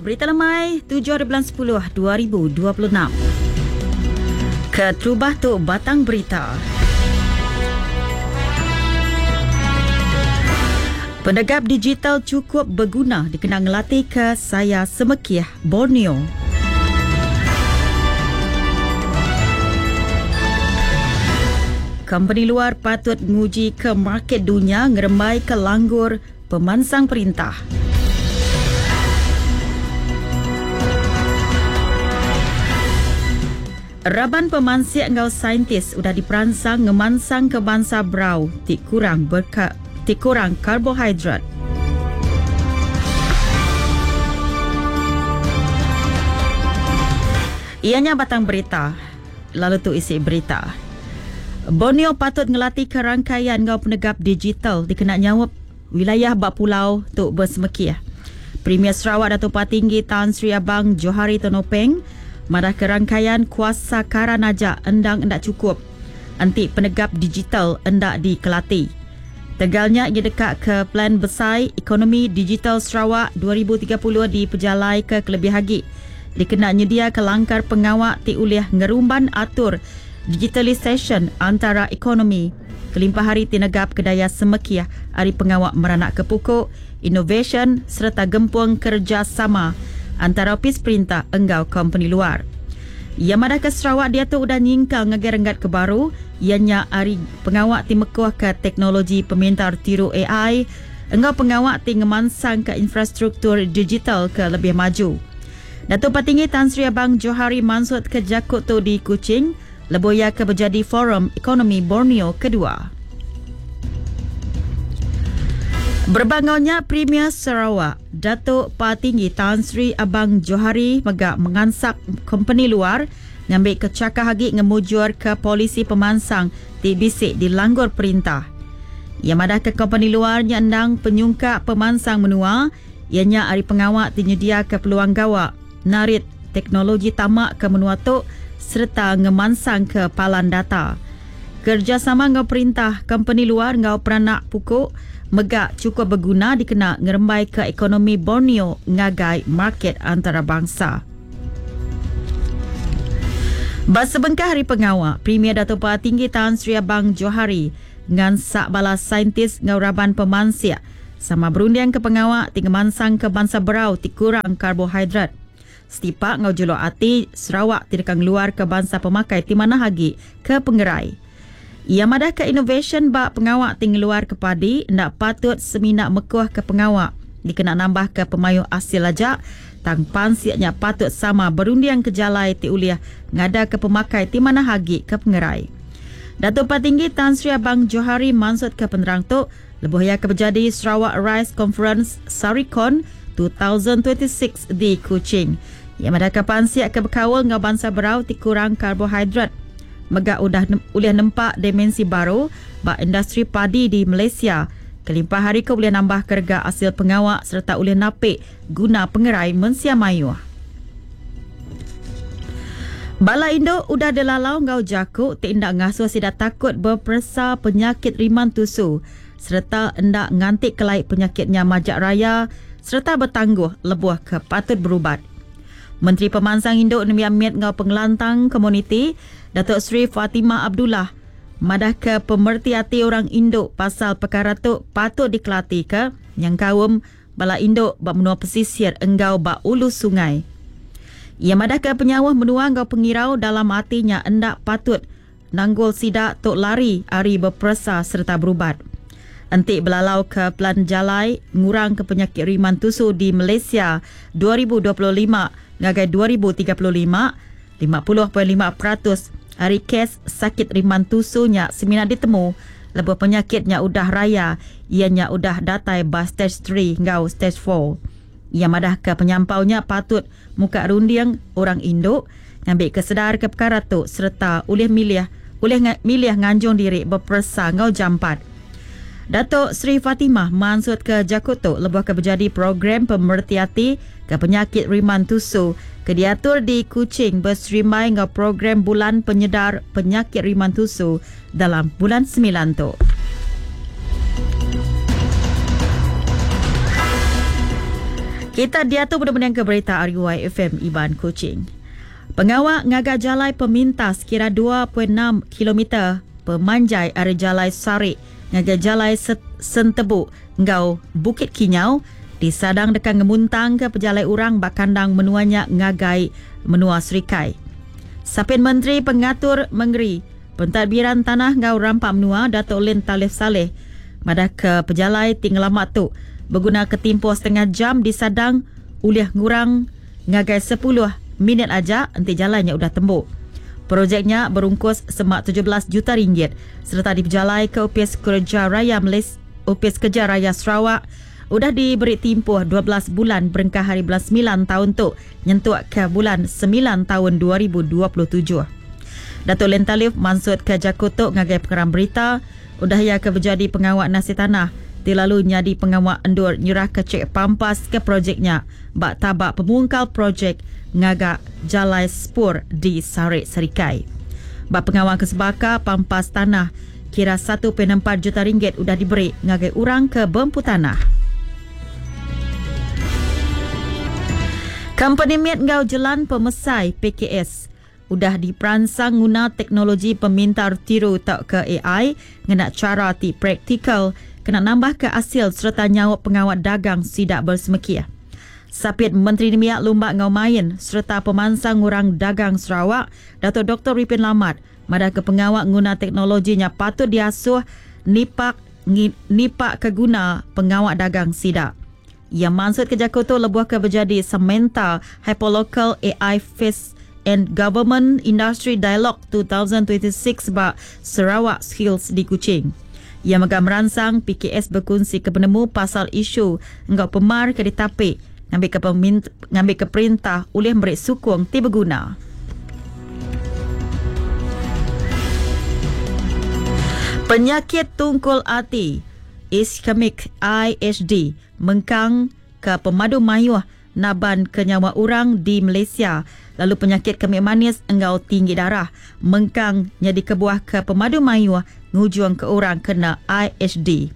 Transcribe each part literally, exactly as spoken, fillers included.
Berita lemai tujuh bulan sepuluh dua ribu dua puluh enam. Keterubah tu batang berita. Penegap digital cukup berguna dikenang ngelatih ke saya Semekiah Borneo. Kompeni luar patut nguji ke market dunia ngerembai ke langgur pemansang perintah. Raban pemansik ngau saintis udah diperansang ngemansang ke bangsa brau ti kurang berka, ti kurang karbohidrat. Ianya batang berita, lalu tu isi berita. Borneo patut ngelatih ke rangkaian ngau penegap digital dikena nyawap wilayah bak pulau tu bersemekiah. Premier Sarawak Datuk Patinggi Tan Sri Abang Johari Tun Openg madah ke rangkaian kuasa karan aja endang endak cukup enti penegap digital endak dikelati. Tegalnya ia dekat ke plan besar ekonomi digital Sarawak dua ribu tiga puluh di pejalai ke kelebih hagi dikena nyedia ke langkar pengawak ti ulih ngerumban atur digitalisation antara ekonomi kelimpah hari tinegap kedaya semekiah hari pengawak meranak ke pukuk innovation serta gempung kerjasama antara opis perintah enggau kompeni luar. Ia madah ke Sarawak dia tu udah nyingkang ngegerenggat ke baru ianya hari pengawak ti mekuh ke teknologi pemintar tiru A I enggau pengawak ti ngemansang ke infrastruktur digital ke lebih maju. Datuk Patinggi Tan Sri Abang Johari mansut ke jakut tu di Kuching lebuya ke berjadi Forum Ekonomi Borneo kedua. Berbangaunya Premier Sarawak, Datuk Patinggi Tan Sri Abang Johari megak mengansak kompeni luar ngambil kecakah hagi ngemujur ke polisi pemansang ti bisik di langgur perintah. Ia madah ke kompeni luar nyandang penyungkak pemansang menua, ianya ari pengawak ti nyedia ke peluang gawak narit teknologi tamak ke menua tu serta ngemansang ke palan data. Kerjasama ngau perintah kompeni luar ngau peranak pukuk megak cukup berguna dikena ngerembai ke ekonomi Borneo ngagai market antarabangsa. Basebengkah hari pengawak, Premier Datuk Patinggi Tan Sri Abang Johari ngansak bala saintis ngau raban pemansik sama berundian ke pengawak ti ngemansang ke bangsa berau ti kurang karbohidrat. Setipak ngau juluk ati Sarawak tidak keluar ke bangsa pemakai ti mana hagi ke pengerai. Ia madah ke innovation bak pengawak ti ngeluar ke padi ndak patut seminak mekuh ke pengawak dikena nambah ke pemayu hasil aja tang pansiaknya patut sama berundiang ke jalai ti uliah ngada ke pemakai ti mana hagi ke pengerai. Datuk Patinggi Tan Sri Abang Johari mansut ke penerang tu lebuh ia ke berjadi Sarawak Rice Conference Sarikon dua ribu dua puluh enam di Kuching. Ia madah ke pansiak ke berkawal ngau bangsa berau ti kurang karbohidrat. Megak udah nem-, ulih nempak dimensi baru bak industri padi di Malaysia. Kelimpah hari ke boleh nambah kerga hasil pengawak serta ulih napik guna pengerai mensia mayuh. Bala Indo udah delalau ngau jakuk ti ndak ngasuh sida takut berperesa penyakit riman tusu serta ndak ngantik kelaik penyakitnya majak raya serta bertangguh lebuh ke patut berubat. Menteri Pemansang Induk Nembiak Miat ngau Pengelantang Komuniti Datuk Seri Fatimah Abdullah madah ke pemerti hati orang induk pasal perkara tu patut dikelati ke yang kaum bala induk bak menua pesisir enggau bak ulu sungai. Ia madah ke penyawah menua enggau pengirau dalam hatinya endak patut nanggul sidak tok lari ari berperesa serta berubat. Entik belalau ke pelan jalai ngurang ke penyakit riman tusu di Malaysia dua ribu dua puluh lima ngagai dua ribu tiga puluh lima, lima puluh perpuluhan lima peratus hari kes sakit riman tusunya semina ditemu lebuh penyakitnya udah raya ianya udah datai ba stage three ngau stage four. Ia madah ke penyampaunya patut muka runding orang induk ngambil kesedar ke perkara tu serta ulih milih ulih nga-, milih nganjung diri berperesa ngau jampat. Datuk Seri Fatimah mansut ke Jakoto lebuh ke berjadi program pemertiati ke penyakit riman tusu ke diatur di Kuching berserimai ngau program bulan penyedar penyakit riman tusu dalam bulan sembilan tu. Kita diatu benar-benar ke berita R U I F M Iban Kuching. Pengawak ngagak jalai pemintas kira dua perpuluhan enam kilometer pemanjai ari jalai Sarik ngagak jalai Sentebu ngau Bukit Kinyau disadang dekat ngemuntang ke pejalai orang bakandang menuanya ngagai menua Serikai. Sapin Menteri Pengatur Mengeri Pentadbiran Tanah ngau Rampak Menua Datuk Len Talif Saleh madah ke pejalai tinggal lama tu berguna ke tempoh setengah jam disadang ulih ngurang ngagai sepuluh minit aja enti jalannya udah tembuk. Projeknya berungkus semak tujuh belas juta ringgit serta dipejalai ke Opis Kerja Raya Malaysia, Opis Kerja Raya Sarawak udah diberi tempoh dua belas bulan berengkah hari bulan sembilan tahun tu nyentuk ke bulan sembilan tahun dua ribu dua puluh tujuh. Datuk Len Talif maksud ke jakutuk ngagai pengeram berita udah ia ke berjadi pengawak nasi tanah ti lalu nyadi pengawak endur nyerah ke cek pampas ke projeknya bak tabak pemungkal projek ngagak jalai spur di Sarik Serikai. Bak pengawak kesebaka pampas tanah kira satu perpuluhan empat juta ringgit udah diberi ngagai orang ke bempu tanah. Company Miat ngau Jelan Pemesai P K S udah diperansang guna teknologi pemintar tiru tak ke A I ngena cara ti praktikal kena nambah ke hasil serta nyawa pengawat dagang sidak bersemekia. Sapit Menteri Nemiak Lumbak Ngau Main serta pemansang orang dagang Sarawak Datuk Doktor Ripin Lamat madah ke pengawak guna teknologinya patut diasuh nipak ngi, nipak ke guna pengawak dagang sidak. Yang maksud kerja kotor lebuh ke berjadi Samantha Hyperlocal A I Face and Government Industry Dialogue dua ribu dua puluh enam ba Sarawak Skills di Kuching. Ia megah merangsang P K S berkongsi ke penemu pasal isu enggau pemar ke ditapik ngambil ke pemint-, ngambil ke perintah oleh merik sukung ti berguna. Penyakit tungkul ati ischemic I H D mengkang ke pemadu mayuh naban ke nyawa orang di Malaysia lalu penyakit kemik manis engau tinggi darah mengkang jadi kebuah ke pemadu mayuh ngujung ke orang kena I H D.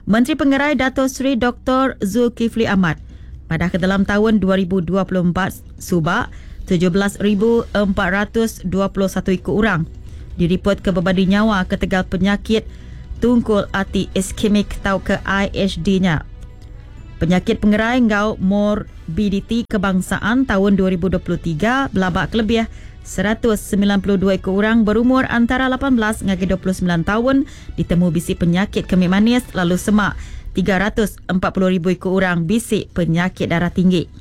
Menteri Pengerai Dato' Seri Doktor Zulkifli Ahmad pada ke dalam tahun dua ribu dua puluh empat subak tujuh belas ribu empat ratus dua puluh satu ikut orang diripot ke berbadi nyawa ketegal penyakit tungkul ati iskemik atau ke I H D-nya. Penyakit pengerai ngau morbiditi kebangsaan tahun dua ribu dua puluh tiga belabak kelebih seratus sembilan puluh dua ekor orang berumur antara lapan belas hingga dua puluh sembilan tahun ditemu bisi penyakit kemik manis lalu semak tiga ratus empat puluh ribu ekor orang bisi penyakit darah tinggi.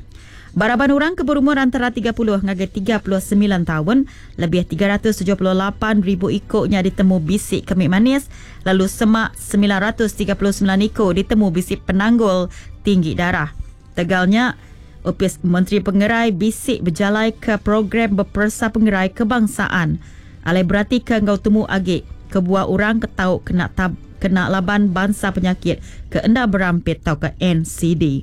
Baraban orang ke berumur antara tiga puluh hingga tiga puluh sembilan tahun lebih tiga ratus tujuh puluh lapan ribu ikornya ditemu bisi kemik manis lalu semak sembilan ratus tiga puluh sembilan ikor ditemu bisi penanggul tinggi darah. Tegalnya, Opis Menteri Pengerai bisik berjalai ke program berpersa pengerai kebangsaan. Alai berarti ke ngau temu agi kebuah orang ketau kena tab, kena laban bangsa penyakit ke enda berampit tau ke N C D.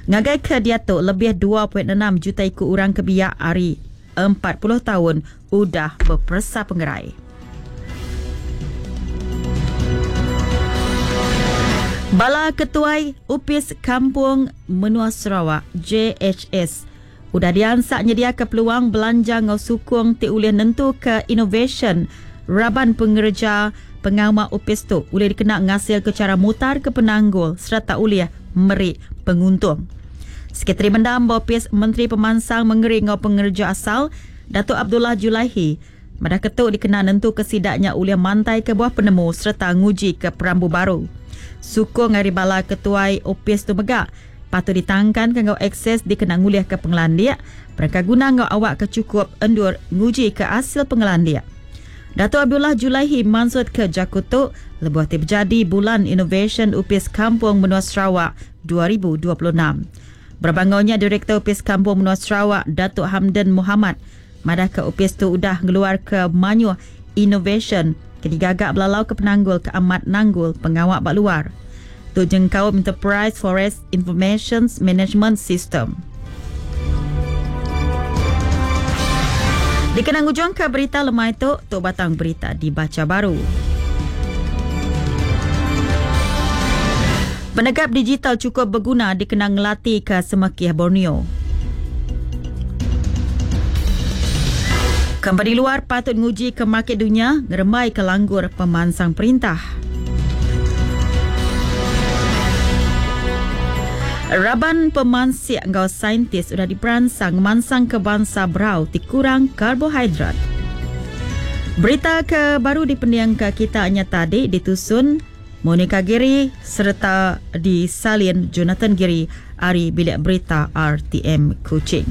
Ngagai ke dia tu lebih dua perpuluhan enam juta ikut orang kebiak hari empat puluh tahun udah berpersa pengerai. Bala Ketuai Upis Kampung Menua Sarawak J H S udah diansak nyedia ke peluang belanja ngau sukung ti ulih nentu ke innovation raban pengerja pengawal upis tu ulih dikena ngasil ke cara mutar ke penanggul serta ulih merik penguntung. Sekretari Mendam Bopis Menteri Pemansang Mengeri ngau pengerja asal Datuk Abdullah Julaihi madah ketuk dikena nentu kesidaknya ulih mantai ke buah penemu serta nguji ke perambu baru. Sukung ari bala ketuai Opis tu megak patut ditangkan ke ngau akses dikena ngulih ke pengelandik mereka guna ngau awak ke cukup endur nguji ke hasil pengelandik. Datuk Abdullah Julaihi maksud ke Jakutuk lebuh ti berjadi bulan Innovation Upis Kampung Menua Sarawak dua ribu dua puluh enam. Berbangunnya Direktur Upis Kampung Menua Sarawak Datuk Hamdan Muhammad madah ke Upis tu udah ngeluar ke manyuh innovation ke digagak belalau ke penanggul ke amat nanggul pengawak bak luar. Tu jengkau Enterprise Forest Information Management System. Dikenang ujung ke berita lemai tu, tu batang berita dibaca baru. Penegap digital chukup beguna dikena ngelatih ke semekih Borneo. Kompeni luar patut nguji ke market dunia ngerembai ke langgur pemansang perintah. Raban pemansik enggau saintis sudah diperansang mansang ke bangsa berau ti kurang karbohidrat. Berita ke baru dipendiang ke kita nya tadi ditusun Monica Giri serta disalin Jonathan Giri ari Bilik Berita R T M Kuching.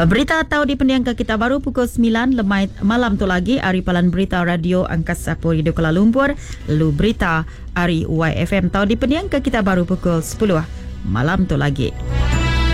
Berita tahu dipendiang ke kita baru pukul sembilan lemai malam tu lagi ari Palan Berita Radio Angkasa Puri di Kuala Lumpur. Lalu berita ari Y F M tahu dipendiang ke kita baru pukul sepuluh malam tu lagi.